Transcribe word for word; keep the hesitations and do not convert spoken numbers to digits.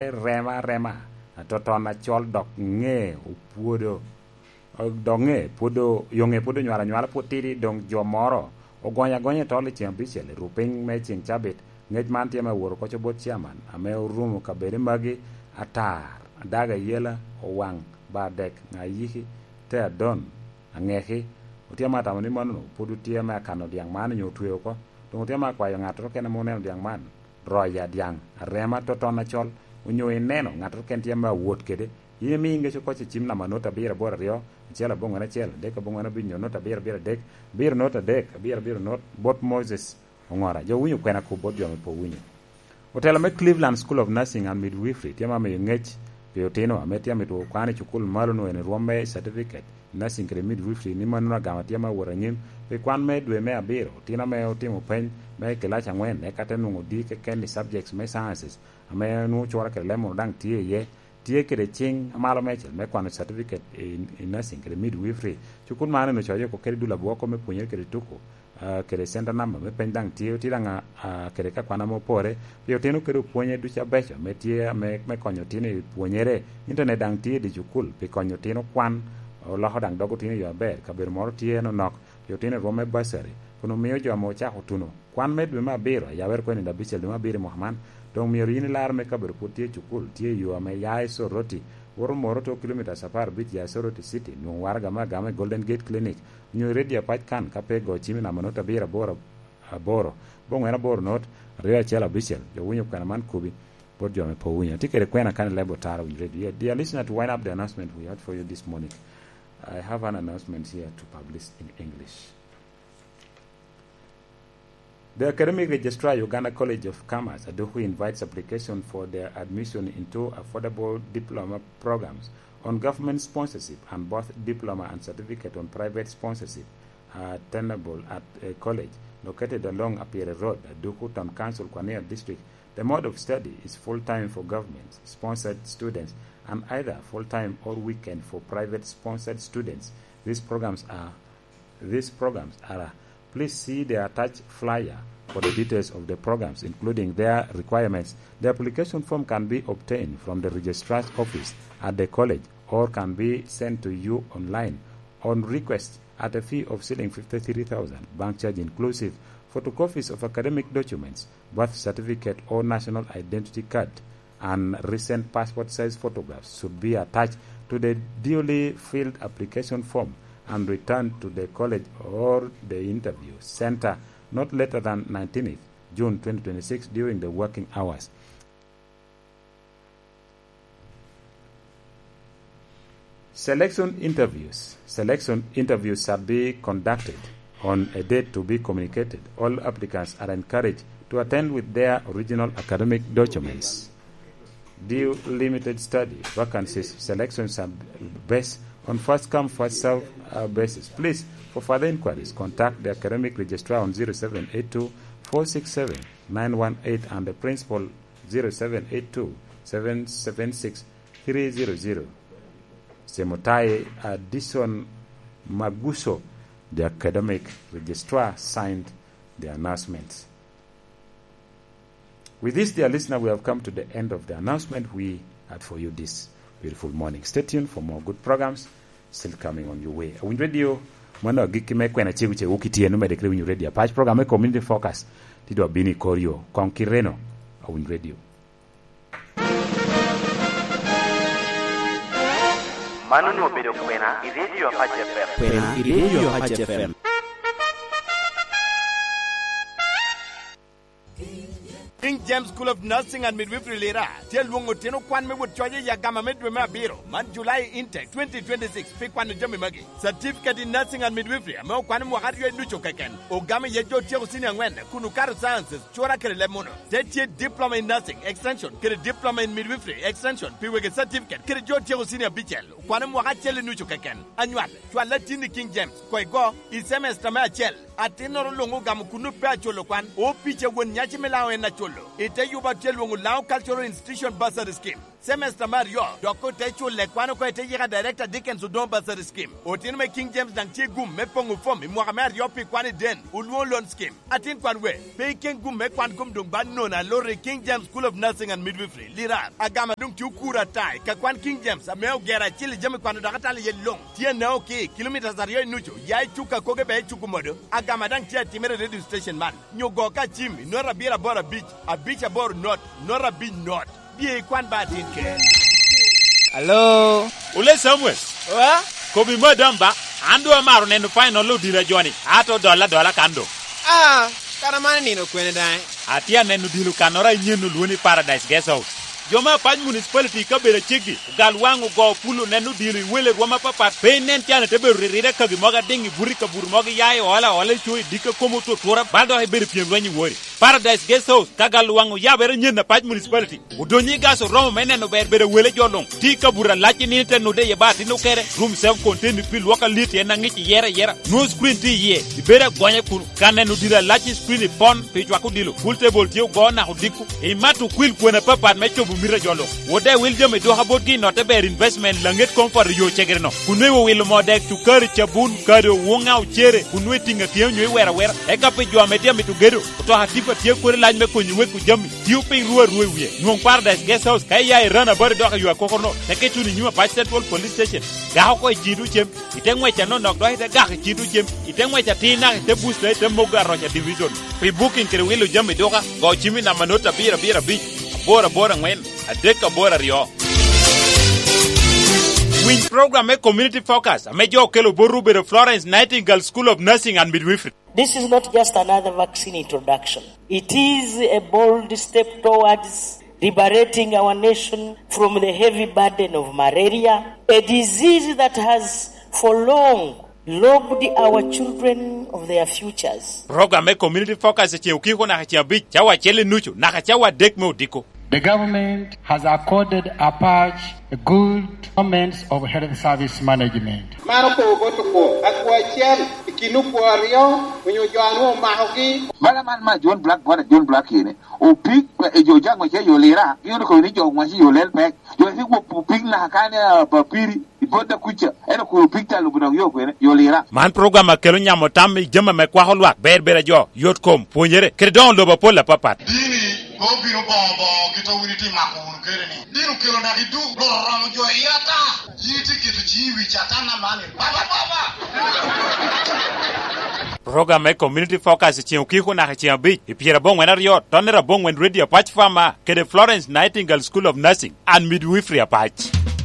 rema arema, atoton acol, dok ŋe opwodo, dok ŋe pwod o-, yo ŋe pwod onywalo anywala, pwod tidi, doŋ jo moro ogonyo agonya i tol i ceŋ abicel i rupiny me ceŋ cabit. Ŋec man tye me awot oko bot chairman ame orumo kabedo magi atar, Adaga Yela, Owaŋ, Bardek, Ŋayiki, Te Adon, Aŋeki. Otye ame atamo ni mano pwod otye ame akano dyaŋ man onyo otweo oko. Doŋ otye ame akwayo ŋattoro kene ame oneno dyaŋ man, roya dyaŋ, arema, toton acol, onyo ineno ŋattoro kene tye ame awot kede, in imi ŋec oko i cim namba not abiro aboro aryo, acel aboŋwen acel, adek aboŋwen abic, nyo not abiro abiro adek, abiro not adek, abiro abiro not, bot Moses Oŋora. Jo owinyo kwena kop bot jo ame pe owinyo. Otelo me Cleveland School of Nursing and Midwifery tye ame amiyo ŋec pi otino ame tye amito kwan i cukul malo-nu eni rwom me certificate i nursing kede midwifery, ni mano agama tye ame awot anyim pi kwan me dwe me abiro. Otino ame otimo peny me kilac aŋwen, eka te nwoŋo D keken i subjects me sciences ame nwoŋo cura kede leb munu daŋ tye iye, tye kede ciŋ amalo meicel me kwano certificate i, i nursing kede midwifery. Cukul man eno coyo oko kede dul abwoko me pwonyere kede tuko, ah, kede center number me peny daŋ tye, otye daŋ, ah, kede ka kwan ame opore pi otino kede opwonye ducu abeco ame tye ame, me konyo otino i pwonyere. Internet daŋ tye i dye cukul pi konyo otino kwan, oloko daŋ dog otino i yo aber. Kabedo moro tye nonok pi otino i rwom me bursary, kun omio jo ame ocako tuno kwan me dwe me abiro, ayabere kwene i dwe abicel dwe me abiro i mwaka man, doŋ myero yin ilar me kabedo pwod tye i cukul, tye i yo ame ya i Soroti, woto Moroto, kilomitas apar abic ya i Soroti City, nwoŋo waraga me agama i Golden Gate Clinic, onyo i Radio Apac kan, ka pe go cim i namba not abiro aboro aboro, aboŋwen aboro not, aryo acel abicel. Jo winyo kwena man kobi, bot jo ame pe owinyo. Atye kede kwena kan i leb otara winyo radio. Yeah, dear listener, to wind up the announcement we had for you this morning, I have an announcement here to publish in English. The Academic Registrar, Uganda College of Commerce, Aduku, invites application for their admission into affordable diploma programs on government sponsorship and both diploma and certificate on private sponsorship are attainable at a college located along Apiere Road, Aduku, Town Council, Kwania District. The mode of study is full-time for government-sponsored students and either full-time or weekend for private-sponsored students. These programs are These programs are, please see the attached flyer for the details of the programs, including their requirements. The application form can be obtained from the registrar's office at the college or can be sent to you online on request at a fee of shilling fifty-three thousand, bank charge inclusive. Photocopies of academic documents, birth certificate or national identity card, and recent passport size photographs should be attached to the duly filled application form and returned to the college or the interview center not later than nineteenth June twenty twenty-six during the working hours. Selection interviews. Selection interviews shall be conducted on a date to be communicated. All applicants are encouraged to attend with their original academic documents. Due limited study vacancies, selection shall be based on first come, first serve, uh, basis. Please, for further inquiries, contact the academic registrar on zero seven eight two four six seven nine one eight and the principal zero seven eight two seven seven six three zero zero. Semutai Addison Maguso, the academic registrar, signed the announcement. With this, dear listener, we have come to the end of the announcement we had for you this beautiful morning. Stay tuned for more good programs still coming on your way. Awiny Radio, mano agikki me kwena cegu cegu kitye, no medde kede winyo Radio Apac, program me Community Focus, ti dwa bino i kor yo. Kong kireno, Awiny Radio. Mano onwoŋo obedo kwena i Radio Apac F M. Kwena i Radio Apac F M. King James School of Nursing and Midwifery Lira tye alwoŋo otino kwan me wot coc i agama me dwe me abiro man, July intake twenty twenty-six, pi kwano jami magi: Certificate in Nursing and Midwifery ame okwano mwaka aryo i ducu keken, ogamo iye jo otyeko senior aŋwen kun okato sciences, cura kede leb munu. Te tye Diploma in Nursing Extension kede Diploma in Midwifery Extension pi wegi certificate kede jo otyeko senior abicel, okwano mwaka acel i nucu keken. Anywal, cwal atin i King James, koŋ igo i semester me acel. Atinnoro luŋ ogamo kun pe aculo kwan, opica won nyaci me Lango en aculo. I te yubo a tye lwoŋo Laŋo Cultural Institution Bursary Scheme, semester me aryo, dok ote culo kwan oko i te yika Director Dickens Odongo Bursary Scheme. Otino me King James daŋ tye i gum me poŋo fom i mwaka me aryo pi kwan i den, olwoŋo Loan Scheme. Atin kwan we, pe iken gum me kwan kom doŋ ba nono aloro i King James School of Nursing and Midwifery, Lirar. Agama doŋ tye okuro ata i ka kwan King James ame ogero acil i jami kwano dok atalo iye luŋ. Tye anao ki kilomitas aryo i nucu, ya i Cuka koge bea i Cuku modo. Agama daŋ tye atimere i radio station man. Nyo go ka cim i nota abiro aboro abic, abic aboro not, nota abic not. Bye ikwan ba atin ker. Alo? Ole Samuel. Wa? Kobi madam ba, an doŋ amaro neno final odilo a joni, ato dola dola kan doŋ. Ah, kara man nino kwene daŋ? Atye aneno odilo kannoro a inyen olwoni Paradise Guest House. Jo me Apac Municipality i kabedo aceggi, ogal waŋ ogo pulo neno odilo i wele rwom apapat, pe inen can ite bedo riride kagi mogo adiŋ i buto i kabuto mogo iya i ola ola i co i dikka komo otutura, bal dok ibedo i pyem lweny i wori. Paradise Guest House, ka gal waŋ oyabere nyen Apac Municipality. Odonyo i gas oromo me neno ber bedo wele jo luŋ. Tye i kabuto alac i nino te nude iye ba atin okere. Room self contained pi lwok alit en aŋic iyere ayera. Nwoŋo screen tye iye. Ibedo agonya kun ka neno odilo alac i screen i pon pi cwako odilo. Pool table tye ogo naka odiko. Imato okwil kwena apapat me cobo mito a jo luŋ. Wode wil jami dwoka botgi i notte ber investment laŋet comfort i yo cegere no. Kun nwe wilo moo dek, cukari, cabun, kado, wuŋa, ocere, kun nwe tiŋa tye onyo iwero awera. Eka pi jo ame tye amito gedo, otoka tipa tye kodi lac me konyo weko jami. Tio piny ruu arua i wie. Nwoŋ Paradise Guest House ka iya i Run About dok i yo akokono, teke tuno i nyim Apac Central Police Station. Gak oko i cito cem, ite ŋwec anonok dok ite gak i cito cem, ite ŋwec atir naka ite busta ite mogo aroca division. Pi booking kede wilo jami duka, go cim i namba not abiro abiro abic, aboro aboro aŋwen, adek aboro aryo. Winy program me Community Focus ame jo okelo botwu obedo Florence Nightingale School of Nursing and Midwifery. This is not just another vaccine introduction. It is a bold step towards liberating our nation from the heavy burden of malaria, a disease that has for long robbed our children of their futures. Program me Community Focus i ceŋ okiko naka ceŋ abic, cawa acel i nucu, naka cawa adek me odiko. The government has accorded Apac a good performance of health service management. Man okobo bot okwo, akwo acel i kin okwo aryo onyo jo a nwoŋo omakogi. Bala man ma John Black, bwana John Black kene, opig, e jo jaŋ wace yo lira, gin okobo ni jo wace yo lel pek. Jo wace gwok opig naka kane, ah, papiri, i bot da kuca, en okobo opig ta lubo dok yo kwene, yo lira. Man program a kelo nyamo tam i jami ame kwako lwak, ber ber a jo, yot kom, pwonyere, kede doŋo lobo apol apapat. Dini, pe obino boŋo boŋo kit a wun itye mako wunu kede ni. Dini okelo naka i duk, loro romo jo i ata. Yin itye keto ciŋi i wi Catan aman, baba, baba! Program me Community Focus i ceŋ okiko naka i ceŋ abic, i pyerabongwen aryo, tonnere abongwen Radio Apac Farmer, kede Florence Nightingale School of Nursing and Midwifery Apac.